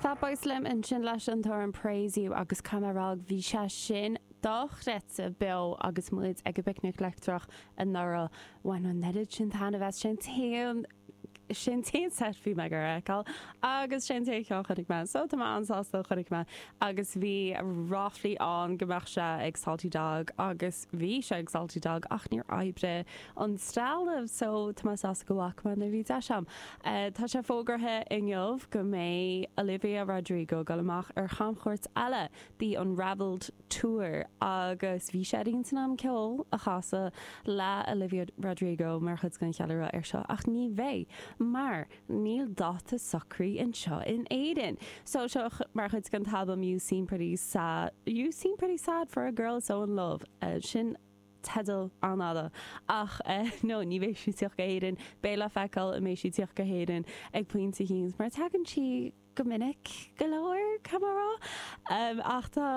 Fatboy Slim ansin leis an t-amhrán Praise You agus caithfidh mé a rá bhí sé sin dochreidte beo agus muid ag an bPicnic Leictreach anuraidh. Bhain an oiread sin taitneamh as sin t-aon sin t-aon set bhí mé ag a fheiceáil agus sin t-aon cheann chonaic mé so tá mé an-sásta a chonaic mé agus bhí ráflaí ann go mbeadh sé ag Salty Dog agus bhí sé ag Salty Dog ach níor oibrigh an trealamh so tá mé sásta go bhfaca mé nuair a bhí deis a'm. Tá sé fógartha inniu go mbeidh Olivia Rodrigo ag dul amach ar chamchuairt eile, The Unravelled Tour, agus bhí sé ar intinn a'm ceol a chasadh le Olivia Rodrigo mar chuid den cheiliúradh ar seo ach ní bheidh mar níl dáta socraithe anseo in Éirinn. So seo mar chuid den t-albam You Seem Pretty Sad, You Seem Pretty Sad for a Girl So In Love. Sin teideal an-fhada. Ach no, ní bheidh sí ag tíocht go hÉirinn. Beidh le feiceáil an mbeidh sí ag tíocht go hÉirinn ag pointe eicínt, mar tagann sí go minic go leor, caithfidh mé a rá. Ach tá,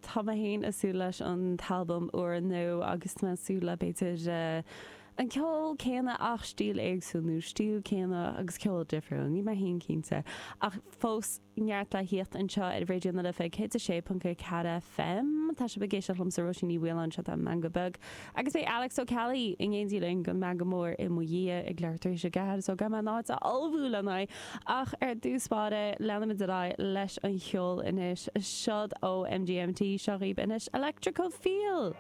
tá mé féin ag súil leis an t-albam úrnua agus tá mé ag súil le b'fhéidir an ceol céanna ach stíl éagsúil nó stíl céanna agus ceol difriúil, níl mé féin cinnte. Ach fós. Neart le thíocht anseo ar Raidió na Life 106.4 FM. Tá sibh ag éisteacht liomsa Róisín Ní Mhaoláin, seo tá Meangadh Beag. Agus beidh Alex Ó Ceallaigh in éindí linn don Meangadh Mór i mo dhiaidh ag leathuair tar éis a ceathair so caithfidh mé an áit a ullmhú lena aghaidh. Ach ar dtús báire, leanfaimid ar aghaidh leis an cheol anois. Seod ó MGMT, seo dhaoibh anois Electrical Feel!